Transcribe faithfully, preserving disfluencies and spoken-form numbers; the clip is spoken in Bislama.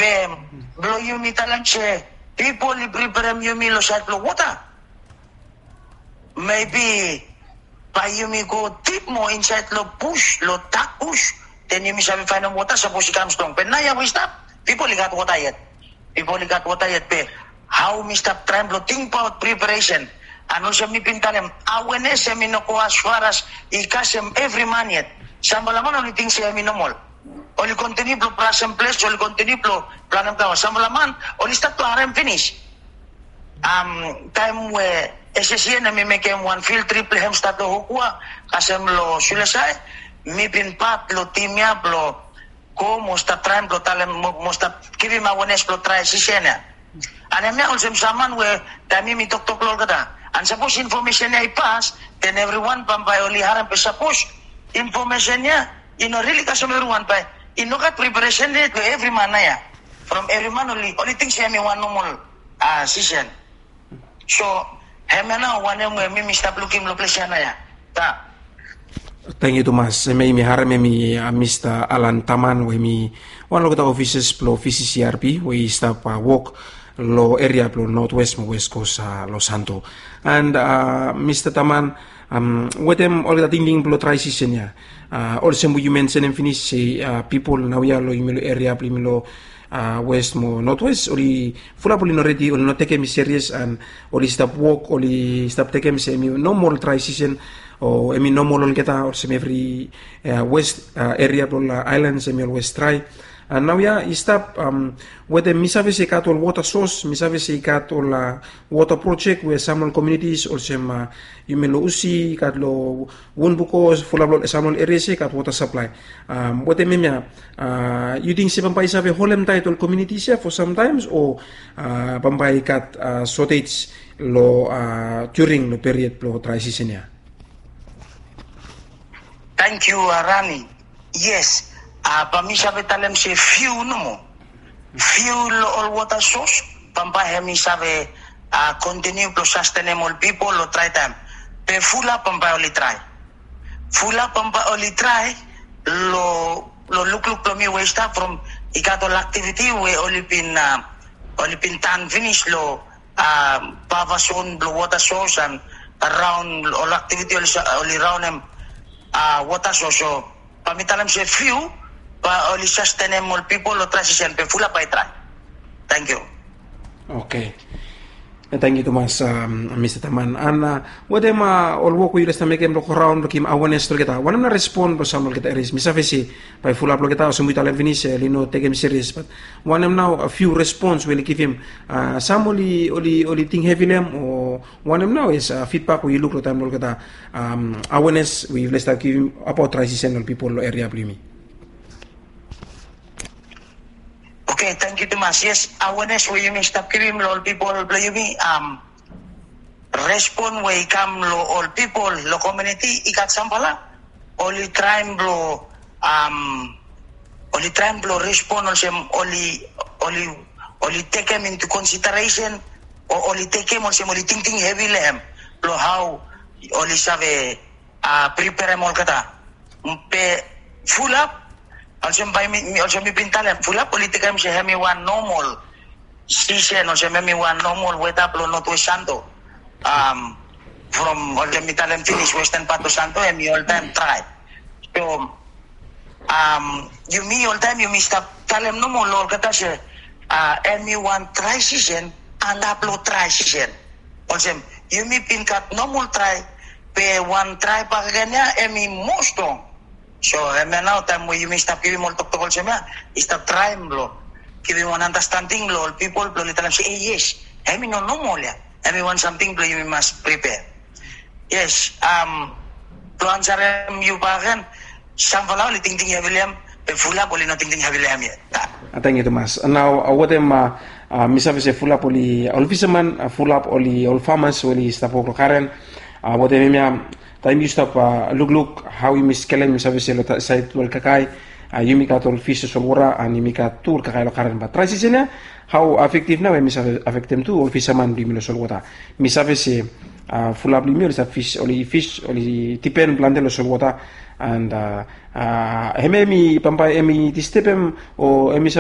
Be blong yumi talem se pipol i preperem yumi long sait blong wota. Mebi bae yumi go dip moa insaed long bus, long dak bus, den yumi save faenem wota sapos i kam strong. Be naoia we i stap, pipol i gat wota yet. Pipol i gat wota yet, be hao mi stap traem blong tingbaot preparesen. An olsem mi bin talem, awenes hemi no go as far as i kasem evri man yet. Samfala man oli ting se hemi nomol. Oli kontiniu blong brasem ples, oli kontiniu blong planem kaos. Samfala man oli stat blong harem finis. Am, taem we SSCN hemi mekem wan field trip blong hem stap long Hukua kasem long Sulesai, mi bin pat long tim ya blong go mo stap traem blong talem mo, mo stap givim awenes blong trae sisen ya. An hemia olsem sam man we taem mi toktok long olgeta. An sapos infomesen ya i pas, den evriwan bambae oli harem, be sapos infomesen ya i no rili kasem evriwan, bae i no gat preparesen yet long evri man naoia. From evri man oli, oli ting se hemi wan nomol, a, sisen. So hemia nao wanem we mi mi stap lukim long ples ya naoia. Ta. Tangkiu tumas. Hemia yumi harem hemi, a, Mista Alan Taman we hemi wan long olgeta ofisas blong VCCRP we i stap, a, wok long eria blong Notwes mo Westkos, a, long Santo. An, a, Mista Taman, am, wetem olgeta tingting blong trae sisen ya, a, olsem we yu mensenem finis se, a, pipol naoia long yumi long eria blong yumi long, a, West mo Notwes, oli fulap oli no redi, oli no tekem i serias, an oli stap wok, oli stap tekem se hemi nomol trae sisen, o hemi nomol olgeta olsem evri, a, West, a, eria blong ol aelan hemi olwes trae. An naoia i stap, am, wetem mi save se i gat ol wota sos, mi save se i gat ol, a, wota projek we sam ol komiunitis olsem, a, yumi long Usi, i gat long Wunbuko, fulap long sam ol erias ya i gat wota saplae. Am, wetem hemia, a, yu ting se bambae i save holem taet ol komiunitis ya fo samtaem, o, a, bambae i gat, a, sotej long, a, during long period blong trae sisen ya? Tangkiu, a, Rani. Yes, a, bae mi save talem se fiu nomo. Fiu long ol wota sos bambae hemi save, a, kontiniu blong sastenem ol pipol long trae taem. Be fulap bambae oli trae. Fulap bambae oli trae long, long lukluk blong mi we i stap from i gat ol aktiviti we oli bin, a, oli bin tan finis long, a, pava zon blong wota sos an raon ol aktiviti oli sa-, oli raonem, a, wota sos. So bae mi talem se fiu bae oli sastenem ol pipol long trae sisen, be fulap bae i trae. Tangkiu. Oke. Tangkiu tumas, am, Mista Taman. An, a, wetem, a, ol wok we yufala i stap mekem blong go raon blong givim awenes long olgeta, wanem nao respon blong sam long olgeta erias? Mi save se bae fulap long olgeta olsem we yu talem finis, oli no tekem serias, bat wanem nao, a, fiu respons we oli givim? A, sam oli, oli, oli ting hevi long hem, o wanem nao, yes, a, fidbak we yu luk long taem blong olgeta, am, awenes we yufala i stap givim abaot trae sisen long ol pipol long eria blong yumi? Oke, tangkiu tumas. Yes, awenes we yumi stap givim long ol pipol blong yumi, am, respon we i kam long ol pipol long komuniti i gat samfala oli traem blong, am, oli traem blong respon olsem oli, oli, oli tekem into consideration, o oli tekem olsem oli tingting hevi long hem blong hao oli save, a, preperem olgeta. Be fulap, olsem bae mi, mi, olsem mi bin talem, fulap oli tekem se hemi wan nomol sisen, olsem hemi wan nomol weta blong Notwes Santo. Am, from olsem mi talem finis, westen pat blong Santo hemi oltaem drae. So, am, yumi oltaem yumi stap talem nomo long olgeta se, a, hemi wan drae sisen antap long drae sisen. Olsem yumi bin gat nomol drae, be wan drae bakegen ya hemi moa strong. So hemia nao taem we yumi stap givim ol toktok olsem ya, i stap traem blong givim wan andastanding long ol pipol blong oli talem se, e, yes, hemi no nomol ya. Hemi wan samting blong yumi mas pripea. Yes, am, blong ansarem yu bakegen, samfala oli tingting hevi long hem, be fulap oli no tingting hevi long hem yet. A, tangkiu tumas. Nao, a, wetem, a, a, mi save se fulap oli ol fisaman, a, fulap oli ol famas we oli stap wok long garen. A, wetem hemia, taem yu stap, a, lukluk hao yumi skelem, mi save se long saed blong ol kakae, a, yumi gat ol fis long solwota, an yumi gat tu ol kakae long garen. Bat drae sisen ya, hao afektiv nao hemi save afektem tu ol fisaman blong yumi long solwota? Mi save se, a, fulap blong yumi oli stap fis, oli fis, oli dipen plante long solwota, an, a, a, hemia hemi bambae hemi distebem, o hemi